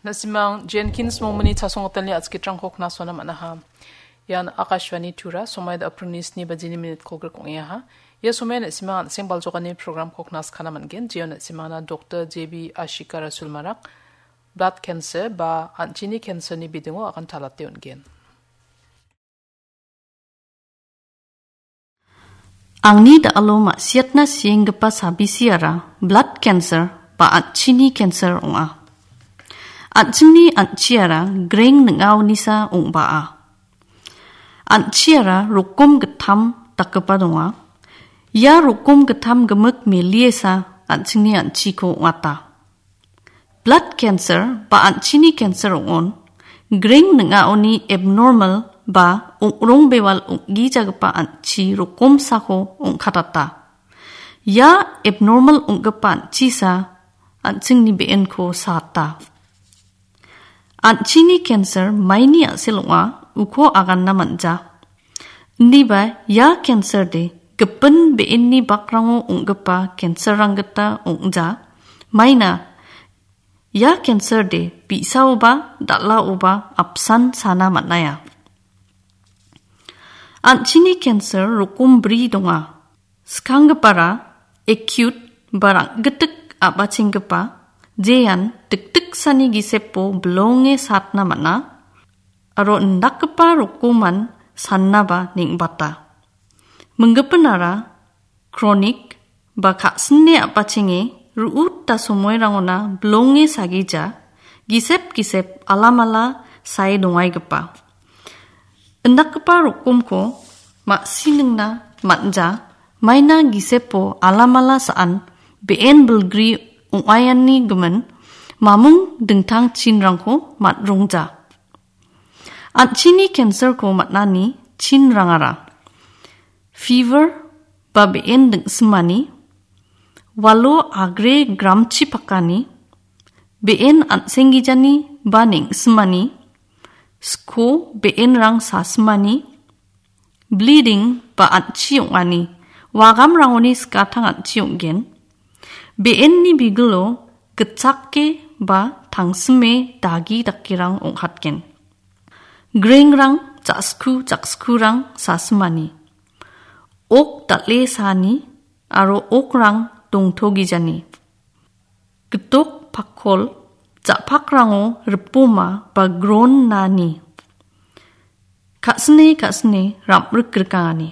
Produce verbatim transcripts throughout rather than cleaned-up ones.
Na·simang Jenkins mongmani chasongatelni atskitrangko knasona man·aha. Ian Akashvani Tura, somoian aprilni sni bajini minit kolgrik ong·eaha. Ia somoian na·simang an·seng baljokani programko knaskana man·gen, jeon na·simangna Doktor J B Ashika Rasulmarak blood cancer ba an·chini cancerni bidingo agan talate on·gen. Angni da·alo ma·siatna sienggipa sabisiara blood cancer ba an·chini cancer ong·a. An·chingni an·chiara greng ning·aonisa ong·baa. An·chiara rokom gittam dakgipa donga. Ia rokom gittam gimik meliesa an·chingni an·chiko ong·ata. Blood cancer ba an·chini cancer ong·on, greng ning·aoni abnormal ba ong·rong bewal ong·gijagipa an·chi rokomsako ong·katata. Ia abnormal ong·gipa an·chisa an·chingni be·enko saata. An·chini cancer maini a·sel ong·a, uko aganna man·ja. Indiba ia cancer de gipin be·enni bakrango ong·gipa cancer-rang gita ong·ja. Maina ia cancer de bi·saoba dal·aoba apsan sana man·aia. An·chini cancer rokom bri donga. Skanggipara acute ba rang·gitik a·bachenggipa, jean dikdiksani gisepo bilonge satna man·a, aro indakgipa rokoman sannaba neng·bata. Minggipinara chronic ba ka·sine a·bachenge ru·uta somoirangona bilonge sagija, gisep gisep alamala sae dongaigipa. Indakgipa rokomko ma·siningna man·ja, maina gisepo alamala sa·an be·en bilgri ong·aiani gimin mamung dingtang chinrangko man·rongja. An·chini cancer-ko man·ani chinrangara: fever ba be·en ding·simani, walo agre gramchi pakani, be·en an·senggijani ba neng·simani, sko be·enrang sasimani, bleeding ba an·chi ong·ani, wagamrangoni skatang an·chi ong·gen, be·enni bigilo gitchake ba tangsime dagi dakerang ong·katgen. Grengrang, ja·sku, ja·skurang sasimani, ok dal·e saani aro okrang dongtogijani, gitok pakol, ja·pakrango ripoma ba gron nani, ka·sine ka·sine ram·rik rikangani.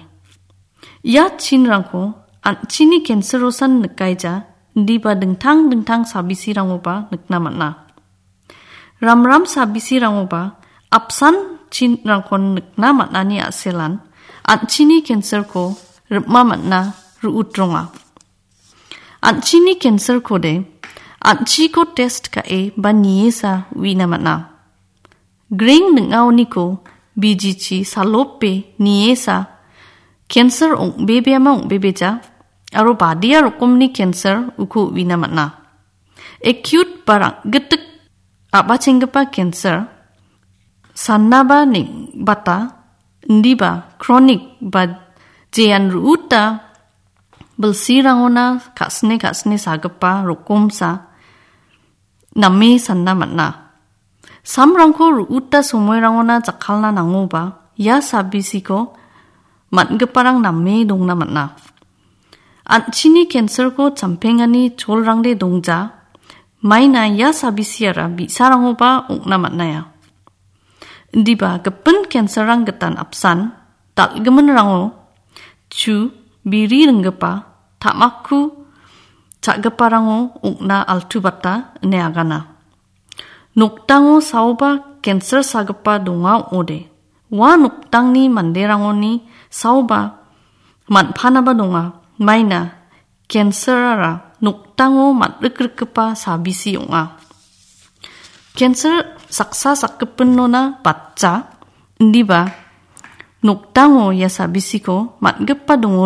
Ia chinrangko an·chini cancer-osan nikaija, indiba dingtang dingtang sabisirangoba nikna man·a. Ramram sabisirangoba apsan chinrangkon nikna man·ani a·selan an·chini cancer-ko ripma man·a, ru·utronga. An·chini cancer-kode an·chiko test ka·e ba niesa uina man·a. Greng ning·aoniko bijichi salope niesa cancer ong·bebeama ong·bebeja aro badia rokomni cancer uko uina man·a. Acute ba rang·gitik a·bachenggipa cancer sannaba neng·bata, indiba chronic ba jean ru·uta bilsirangona ka·sine ka·sine sagipa rokomsa name sanna man·a. Samrangko ru·uta somoirangona jakkalna nangoba, ia sabisiko man·giparang name dongna man·a. An·chini cancer-ko champengani cholrangde dongja, maina ia sabisiara bi·sarangoba ong·na man·aia. Indiba gipin cancer-rang gitan apsan, dal·giminrango chu biri ringgipa, ta·makku cha·giparango ong·na altubata ine agana. Nokdango saoba cancer sagipa donga ong·ode. Ua noktangni manderangoni saoba man·panaba donga. Maina cancer-ara nokdango man·rikrikgipa sabisi ong·a. Cancer saksa sakgipinona batja, indiba nokdango ia sabisiko man·gipa dongo.